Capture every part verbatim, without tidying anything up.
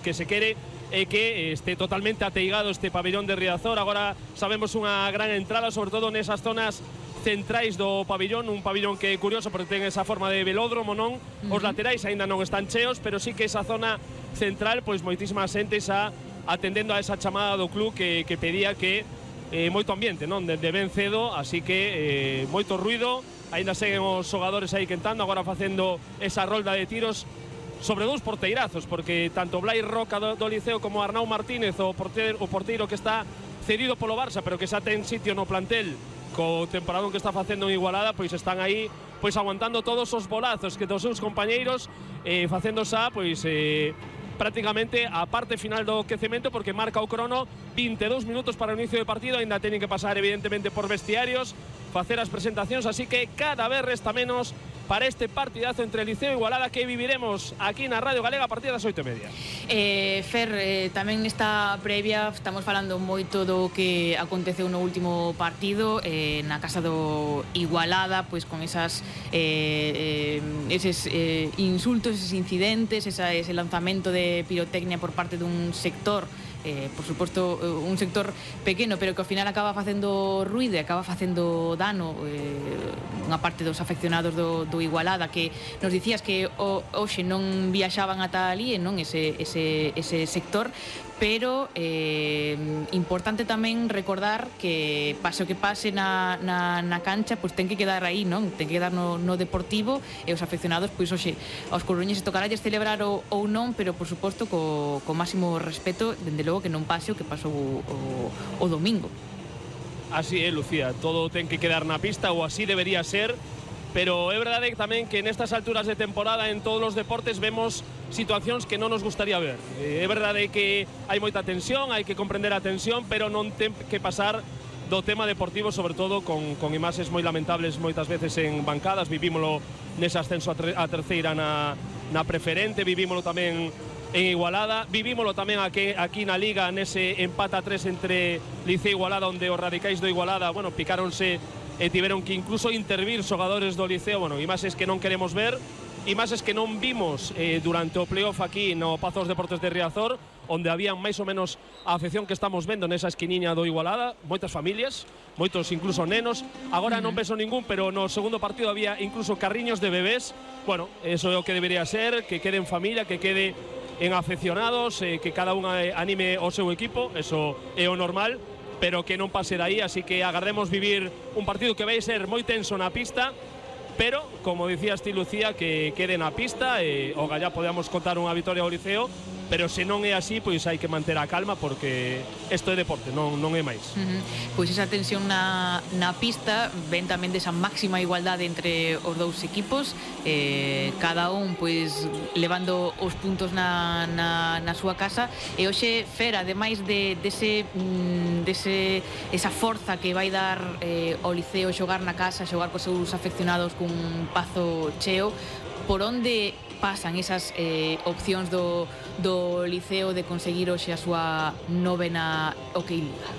que se quere é que este totalmente ateigado este pabellón de Riazor. Agora sabemos unha gran entrada, sobre todo nesas zonas centrais do pabellón, un pabellón que é curioso porque ten esa forma de velódromo, non? Uh-huh. Os laterais aínda non están cheos, pero sí que esa zona central, pois moitísima xente xa atendendo a esa chamada do club que, que pedía que eh, moito ambiente, non? De, de ben cedo, así que eh, moito ruido, aínda seguen os xogadores aí quentando, agora facendo esa rolda de tiros sobre dous porteirazos, porque tanto Blai Roca do, do Liceo como Arnau Martínez, o porteiro, o porteiro que está cedido polo Barça, pero que xa ten sitio no plantel co temporadón que está facendo en Igualada, pois están aí pois aguantando todos os bolazos que dos seus compañeiros, eh, facendo xa pois eh, prácticamente a parte final do quecemento, porque marca o crono vinte e dous minutos para o inicio do partido. Ainda teñen que pasar evidentemente por vestiarios, facer as presentacións, así que cada vez resta menos para este partidazo entre Liceo e Igualada que viviremos aquí na Radio Galega a partir das oito e media. Eh, Fer, eh, tamén nesta previa estamos falando moito do que aconteceu no último partido eh, na casa do Igualada, pois con esas eh, eh, eses eh, insultos, eses incidentes, esa, ese lanzamento de pirotecnia por parte dun sector, Eh, por suposto un sector pequeno, pero que ao final acaba facendo ruido e acaba facendo dano eh, unha parte dos afeccionados do, do Igualada, que nos dicías que o, hoxe non viaxaban ata ali, non ese, ese, ese sector, pero eh, importante tamén recordar que pase o que pase na, na, na cancha, pois ten que quedar aí, non? Ten que quedar no, no deportivo, e os afeccionados, pois hoxe aos coruñeses tocaralles celebrar o, ou non, pero por suposto co, co máximo respeto, dende logo que non pase o que pasou o, o, o domingo. Así é, Lucía, todo ten que quedar na pista, ou así debería ser. Pero é verdade tamén que nestas alturas de temporada en todos os deportes vemos situacións que non nos gustaría ver. É verdade que hai moita tensión, hai que comprender a tensión, pero non ten que pasar do tema deportivo, sobre todo con, con imaxes moi lamentables moitas veces en bancadas. Vivímolo nese ascenso a, tre, a terceira na, na preferente, vivímolo tamén en Igualada, vivímolo tamén aquí, aquí na Liga nese empate a tres entre Liceo e Igualada, onde os radicais do Igualada, bueno, picáronse e tiveron que incluso intervir xogadores do Liceo. Bueno, imaxes que non queremos ver, imaxes que non vimos eh, durante o playoff aquí no Pazo dos Deportes de Riazor, onde había máis ou menos a afección que estamos vendo nesa esquiniña do Igualada, moitas familias, moitos incluso nenos. Agora non penso ningún, pero no segundo partido había incluso carriños de bebés. Bueno, eso é o que debería ser, que quede en familia, que quede en afeccionados, eh, que cada unha anime o seu equipo, eso é o normal, pero que non pase daí, así que agardemos vivir un partido que vai ser moi tenso na pista, pero, como dicías ti, Lucía, que quede na pista e o gallá podemos contar unha vitoria ao Liceo, pero se non é así, pois hai que manter a calma, porque isto é deporte, non, non é máis. Uh-huh. Pois esa tensión na, na pista ven tamén desa máxima igualdade entre os dous equipos, eh, cada un pois levando os puntos na, na, na súa casa, e hoxe, Fer, ademais de, dese, dese, esa forza que vai dar eh, o Liceo xogar na casa, xogar cos seus afeccionados cun Pazo cheo, por onde pasan esas eh, opcións do, do Liceo de conseguir hoxe a súa novena OK Liga?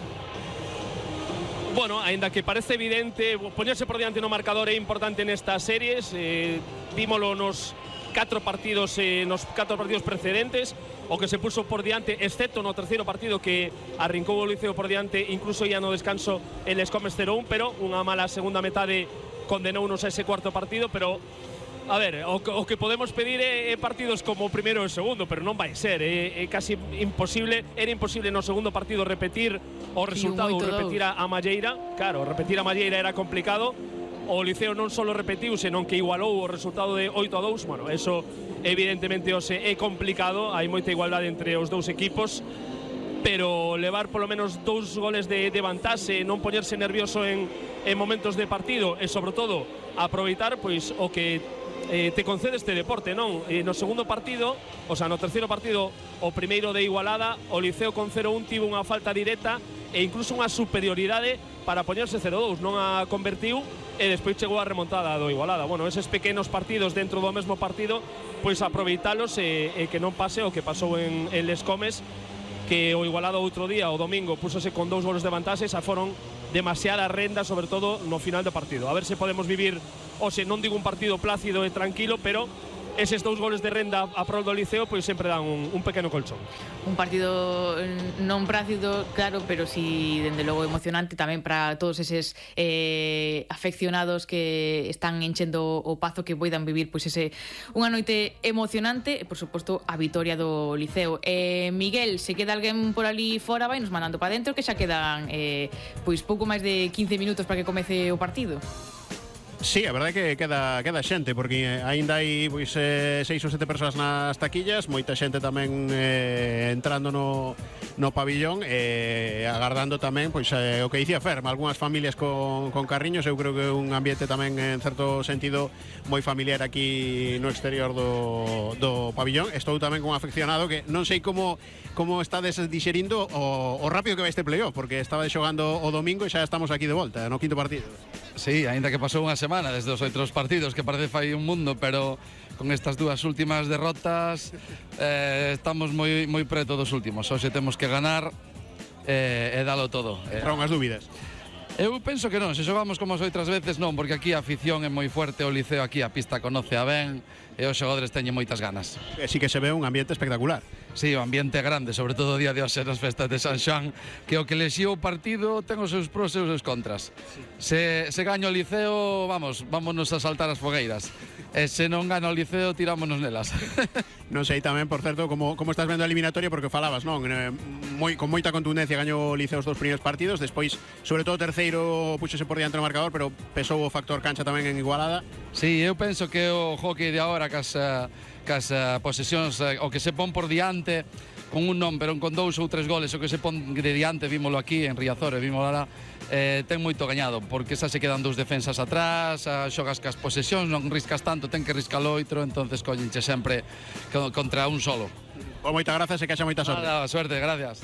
Bueno, aínda que parece evidente, poñerse por diante no marcador é importante nestas series. eh, Vímolo nos catro partidos eh, nos catro partidos precedentes, o que se puso por diante, excepto no terceiro partido que arrincou o Liceo por diante, incluso ia no descanso el Escomes cero un, pero unha mala segunda metade condenounos a ese cuarto partido. Pero a ver, o, o que podemos pedir é, é partidos como o primeiro e o segundo, pero non vai ser, é, é casi imposible. Era imposible no segundo partido repetir o resultado, ou repetir a, a Malleira. Claro, repetir a Malleira era complicado. O Liceo non só repetiu, senón que igualou o resultado de oito a dous. Bueno, eso evidentemente ose é complicado, hai moita igualdade entre os dous equipos, pero levar polo menos dous goles de, de vantaxe, non poñerse nervioso en, en momentos de partido, e sobre todo aproveitar pois o que eh, te concede este deporte, non? E no segundo partido, o sea, no terceiro partido, o primeiro de Igualada, o Liceo con cero un tivo unha falta directa e incluso unha superioridade para poñerse cero dous, non a convertiu, e despois chegou a remontada do Igualada. Bueno, eses pequenos partidos dentro do mesmo partido, pois aproveitalos e, e que non pase o que pasou en, en Les Comes, que o Igualada outro día, o domingo, púsose con dous goles de vantaxe, xa foron demasiada renda, sobre todo no final do partido. A ver se podemos vivir, ou se non digo un partido plácido e tranquilo, pero eses dous goles de renda a prol do Liceo pois sempre dan un, un pequeno colchón. Un partido non prácido, claro, pero si dende logo emocionante tamén para todos eses eh, afeccionados que están enchendo o pazo, que poidan vivir pois ese unha noite emocionante e, por suposto, a vitoria do Liceo. Eh, Miguel, se queda alguén por ali fora, vai nos mandando para dentro, que xa quedan eh, pois pouco máis de quince minutos para que comece o partido. Sí, a verdade é que queda, queda xente, porque aínda hai pois, eh, seis ou sete persoas nas taquillas, moita xente tamén eh, entrando no, no pabillón, e eh, agardando tamén pois, eh, o que dicía Ferma, algunhas familias con, con carriños. Eu creo que é un ambiente tamén en certo sentido moi familiar aquí no exterior do, do pabillón. Estou tamén con un afeccionado que non sei como como estades dixerindo o, o rápido que vai este playoff, porque estaba xogando o domingo e xa estamos aquí de volta, no quinto partido. Sí, aínda que pasou unha semana desde os outros partidos, que parece fai un mundo, pero con estas dúas últimas derrotas eh, estamos moi moi preto dos últimos. Hoxe temos que ganar eh, e dalo todo. Entraron as dúbidas. Eu penso que non, se xogamos como as outras veces non, porque aquí a afición é moi fuerte, o Liceo aquí a pista conoce a ben e os xogadores teñen moitas ganas. E sí que se ve un ambiente espectacular. Sí, o ambiente é grande, sobre todo o día de hoxe nas festas de San Xoán, que o que lexía o partido ten os seus pros e os seus contras. Se, se gaña o Liceo, vamos, vámonos a saltar as fogueiras. E se non gana o Liceo, tirámonos nelas. Non sei tamén, por certo, como, como estás vendo a eliminatoria, porque falabas, non? Eh, moi, con moita contundencia gañou o Liceo os dous primeiros partidos, despois, sobre todo o terceiro, puxose por diante no marcador, pero pesou o factor cancha tamén en Igualada. Sí, eu penso que o hockey de agora, cas, cas posesións, o que se pon por diante, con un non, pero con dous ou tres goles, o que se pon de diante, vímolo aquí en Riazor, vímolo lá, eh, ten moito gañado, porque xa se quedan dous defensas atrás, a, xogas cas posesións, non riscas tanto, ten que riscar o outro, entonces collenche sempre contra un solo. O moita grazas e que haxa moita sorte. Nada, suerte, gracias.